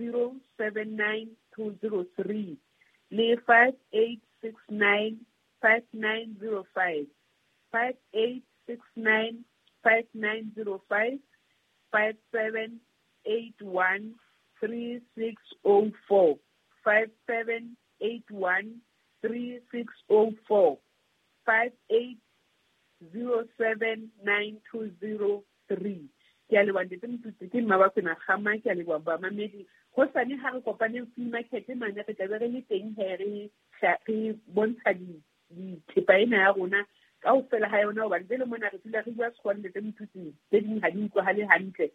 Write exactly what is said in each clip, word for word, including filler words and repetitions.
zero seven nine two zero three le five eight six nine five nine zero five five eight six nine five nine zero five five seven eight one three six oh four five seven eight one three six oh four five eight zero seven nine two zero three. Ke a leboha ntate Motutsi, ke mma Bakwena Kgama, ke a leboha bamamedi. Hosane ha re kopaneng flea market mane, re tlabe re le teng he re re bontsha dithepa ena ya rona kaofela ha yona, hobane jwale mona re dula re bua Sekgowa ntate Motutsi, tse ding ha di utlwahale hantle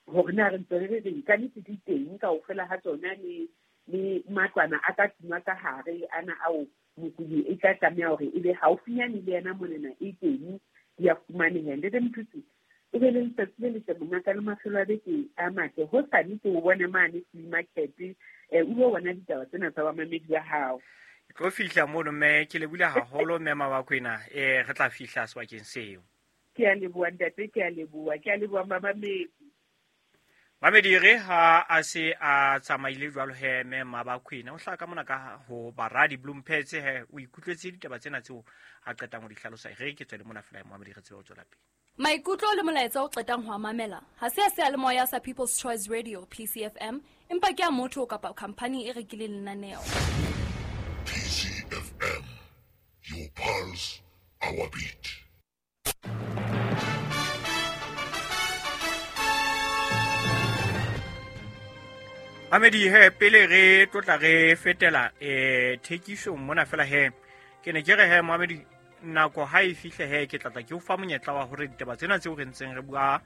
hore na re ntse re re reng. Ka nnete di teng kaofela ha tsona, le le matlwana a ka tlung ka hare ana ao mokudi e tla tlameha hore e be haufinyane le yena monena e teng, di a fumaneha. Ntate Motutsi, o be le letsatsi le letle mongaka le mafelo a beke a matle. Hosane ke o bone mane flea market, eh, o lo bona ditaba tsena tsa bamamedi ba hao. Ke tlo fihla mono mme ke lebohile haholo mme Mabakwena, eh re tla fihla sebakeng seo. Ke a leboha ntate, ke a leboha, ke a leboha mamamedi. Mamedi re ha a se a tsamaile jwalo he mme Mabakwena o hlaka mona ka ho Baradi Bloemphetse he o ikutlwetse ditaba tsena tseo a qetang ho di hlalosa. Re ke tswele mona fela mamedi re tsebe ho tswela pele. Maikutlo le molaetsa o qetang ho a mamela ha se a seyalemoya sa People's Choice Radio P C F M, empa ke a motho kapa khampani e rekileng lenaneo. P C F M, your pulse, our beat. Mamedi he pele re tlotla re fetela eh thekisong mona fela he ke ne ke re he mamedi nako ha e fihle he ke tlatla ke o fa monyetla wa hore ditaba tsena tseo re ntseng re bua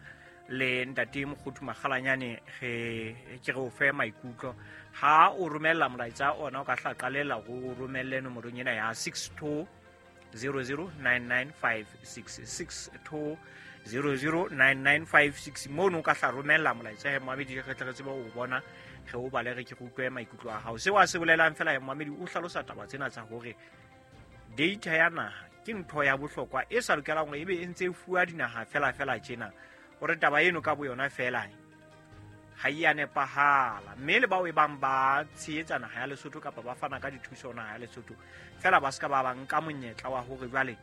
le ntate Mokgothu Makgalanyane re ke re o fe maikutlo. Ha o romella molaetsa ona o ka hla qalela ho romelle nomorong ena ya six two zero zero nine nine five six six two zero zero nine nine five six mono o ka hla romella molaetsa he mamedi re tle re tsebe ho bona re o bale re ke re utlwe maikutlo a hao. Seo a se bolelang fela he mamedi o hlalosa taba tsena tsa hore data ya naha ke ntho ya bohlokwa e sa lokelang hore ebe e ntse e fuwa dinaha fela fela tjena, hore taba eno ka boyona fela ha e a nepahala. Mme le bao e bang ba tshehetsa naha ya Lesotho kapa ba fana ka dithuso naha ya Lesotho fela ba ska ba ba nka monyetla wa hore jwale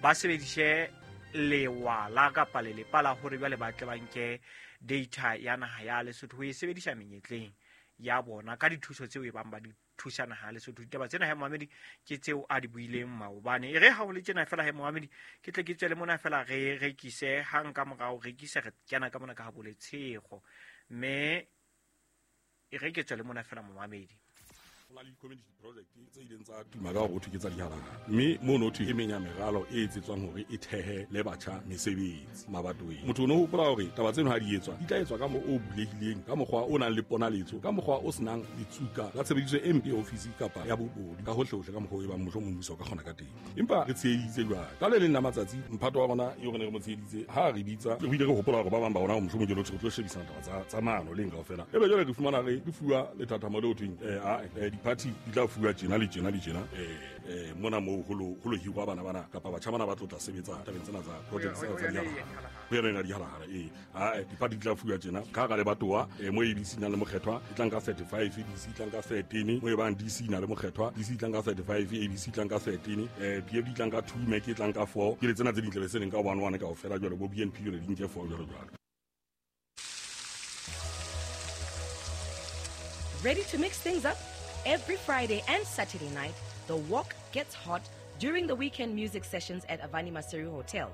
ba sebedise lewala kapa lelepa la hore jwale ba tle ba nke data ya naha ya Lesotho ho e sebedisa menyetleng ya bona ka dithuso tseo e bang ba di thusa naha ya Lesotho. Ditaba tsena he mamedi ke tseo a di buileng maobane. E re ha ho le tjena fela he mamedi ke tle ke tswele mona fela re rekise hang ka morao rekise re kena ka mona ka ha boletshego mme e re ke tswele mona fela momamedi. Ho na le community project tse ileng tsa tuma ka hore ho thwe ke tsa dihalahhala, mme mono ho thwe e meng ya meralo e etsetswang hore e thehe le batjha mesebetsi mabatoweng. Motho o no hopola hore taba tseno ha di etswa di tla etswa ka mokgwa o bulehileng, ka mokgwa o nang le ponaletso, ka mokgwa o senang letsuka la tshebediso e mpe ya ofisi kapa ya bobodu, ka hohlehohle ka mokgwa o e bang mohlomong mmuso o ka kgona ka teng. Empa re tsheheditse jwale ka le leng la matsatsi mphato wa rona eo re ne re mo tsheheditse ha re bitsa re ile re hopola hore ba bang ba rona mohlomong ke lo tlo shebisana taba tsa tsa maano leng kaofela. Ebe jwale re fumana re re fuwa lethathamo le ho thweng eh a party di tla fuwa tjena le tjena le tjena eh eh mona moo ho lo ho lo hirwa bana bana kapa batjha bana ba tlo tla sebetsa tabeng tsena tsa project tsena tsa dihalahhala ho yona ena dihalahhala eh a di-party di tla fuwa tjena ka hara lebatowa eh mo A B C na le mokgethwa e tlang ka thirty-five, D C e tlang ka thirteen, mo e bang D C na le mokgethwa D C e tlang ka thirty-five, A B C e tlang ka thirteen, eh P F D e tlang ka two, M E C e tlang ka four, ke le tsena tse ding tlabe se leng ka one one kaofela jwale bo B N P jwale di nke four jwalo jwalo. Ready to mix things up? Every Friday and Saturday night, the walk gets hot during the weekend music sessions at Avani Maseru Hotel.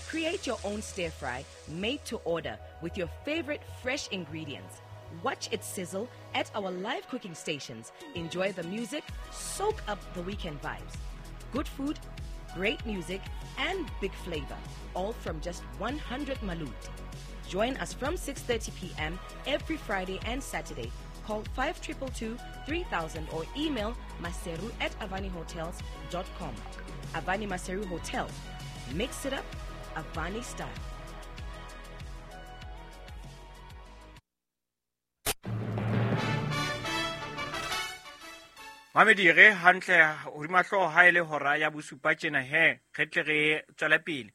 Create your own stir fry made to order with your favorite fresh ingredients. Watch it sizzle at our live cooking stations. Enjoy the music, soak up the weekend vibes. Good food, great music, and big flavor, all from just one hundred malut. Join us from six thirty p.m. every Friday and Saturday. Call five two two two, three thousand or email maseru at avani hotels dot com. Avani Maseru Hotel. Mix it up, Avani style. Mamedi re hantle hodima hlooho ha e le hora ya bosupa tjena he re tle re tswele pele.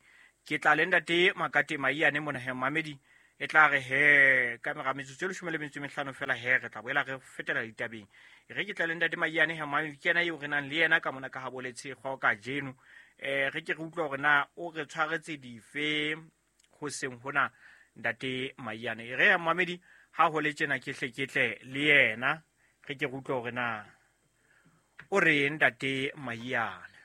Ke tla le ntate Makate Maiyane mona he mamedi E tla re he ka mora metsotso e leshome le metso e mehlano fela he re tla boela re fetela ditabeng. Re ke tla le ntate Maiyane he mamedi, ke yena eo re nang le yena ka mona ka ha Boletshe ka jeno. Eh re ke re utlwa hore na o re tshwaretse dife hoseng hona ntate Maiyane. E re mamedi ha ho le tjena ke hle ke tle le yena re ke re utlwa hore na o re ntate Maiyane.